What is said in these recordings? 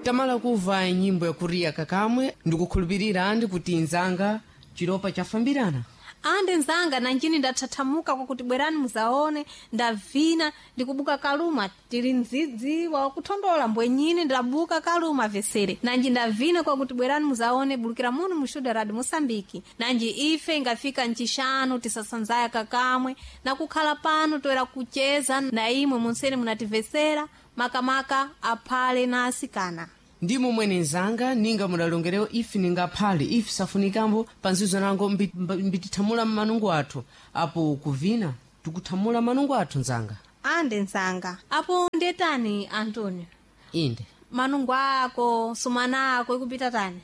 Tamala kuva nyimbo yakuriya kakamwe, ndikukhulupirira andi kuti nzanga chilopa chafambirana. Ande nzanga, nanjini ndathathamuka kwakuti bwerani muzaone, ndavina ndikubuka kaluma tili mdzidzi wakuthondola mbwenyini, ndabuka kaluma vesere nanji ndavina kwakuti bwerani muzaone, bulukira muno mushuda radi Mosambiki. Nanji ife ingafika ncixanu tisasanzaya kakamwe na kukhala pano toera kucheza na imwe munsene munativesera, makamaka aphale na asikana. Ndimo mwene nzanga, ninga mudalongerewo ife ningaphale ife safunikambo panzizo nango mbitithamula manungo athu apo kuvina tikuthamula manungo athu nzanga. Ande nzanga, apo ndetani Antonio? Inde. Manungo ako sumana ako ikupita tani?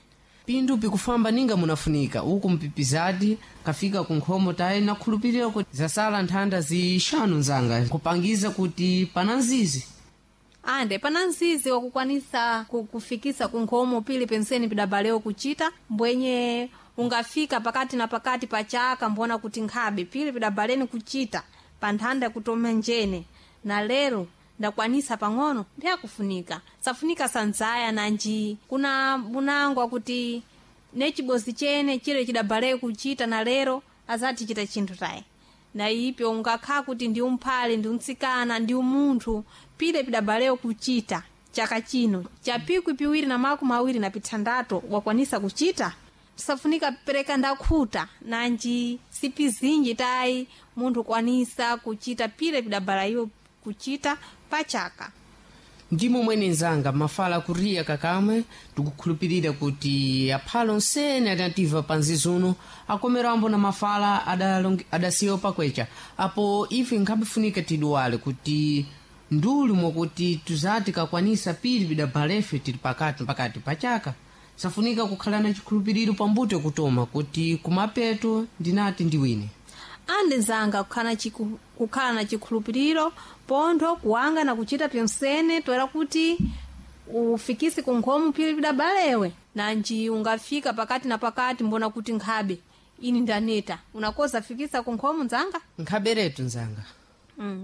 Pindu pikufamba ninga munafunika uku mpipizadi kafika kunkhomo tayi nakhulupirira kuti zasala nthanda zixanu nzanga kupangiza kuti pana nzizi. Ande pana nzizi wakukwanisa kufikisa kunkhomo pili penseni pidabalewo kuchita mbwenye ungafika pakati na pakati pa chaka mbona kuti nkhabe pili pidabaleni kuchita pa nthanda kutoma njene na lero ndakwanisa pang'ono ndiyakufunika safunika sanzaya nanji kuna bunangwa kuti necibozi chene chile chidabaleyo kuchita na lero azati chita chinthu tayi na ipyo ungakhala kuti ndi umphale ndi umtsikana ndi umunthu pile pidabaleyo kuchita chaka chino cha 2026 wakwanisa kuchita safunika pereka ndakhuta nanji sipizinji tayi munthu kwanisa kuchita pile pidabalayo kuchita pachaka. Ndimo mwene nzanga, mafala kuriya kakamwe, tikukhulupirira kuti aphalo onsene adativa panzizuno akomerambo na mafala adasiwa pakwecha apo ife nkhabifunika tiduwale kuti nduli mwakuti tuzati kakwanisa pili pidabalefe tili pakati pakati pachaka safunika kukhala na chikhulupiriro pambuto kutoma kuti kumapeto ndinati ndiwine. Ande nzanga, kukhala na chikhulupiriro pontho kuwanga na kuchita pyonsene toera kuti ufikise kunkhomo phiri pidabalewe nanji ungafika pakati na pakati mbona kuti nkhabe ini ndaneta unakoza fikisa kunkhomo nzanga. Nkhaberetu nzanga.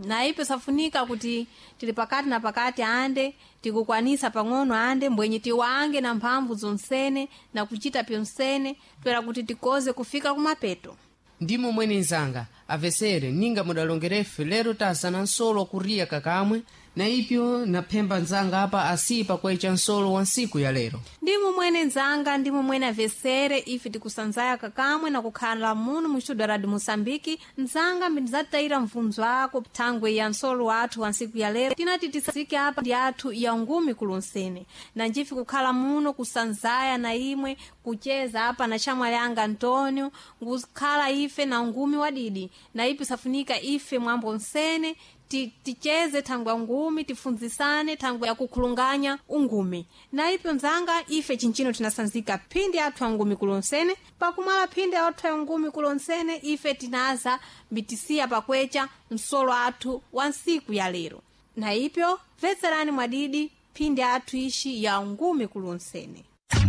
Na ipo safunika kuti tili pakati na pakati ande tikukwanisa pang'ono ande mbwenye tiwange na mphamvu zonsene na kuchita pyonsene toera kuti tikoze kufika kumapeto. Ndimo mwene nzanga, avesere ninga mudalongerefe lero tazana nsolo kuriya kakamwe na ipyo naphemba nzanga apa asiyi pakwecha nsolo wa nsiku ya lero. Ndimo mwene nzanga, ndimo mwene avesere ife tikusanzaya kakamwe na kukhala muno muxuda radi Moçambike. Nzanga mbindizatayira mvunzo ako thangwe ya nsolo wathu wa nsiku ya lero tinati tisazike apa ndi athu ya ngumi kulonsene na njife kukhala muno kusanzaya na imwe kucheza apa na xamwali anga Antonio ngukhala ife na ngumi wadidi na ipi safunika ife mwambo nsene ticheze thangwe ya ngumi tifunzisane thangwe ya kukhulunganya ungumi na ipyo nzanga ife chinchino tinasanzika phindi athu angumi kulonsene pakumwala phindi athu angumi kulonsene ife tinaza mbitisiya pakwecha msolo athu wa nsiku ya lero na ipyo mvetserani mwadidi phindi athu ixi ya ngumi kulonsene.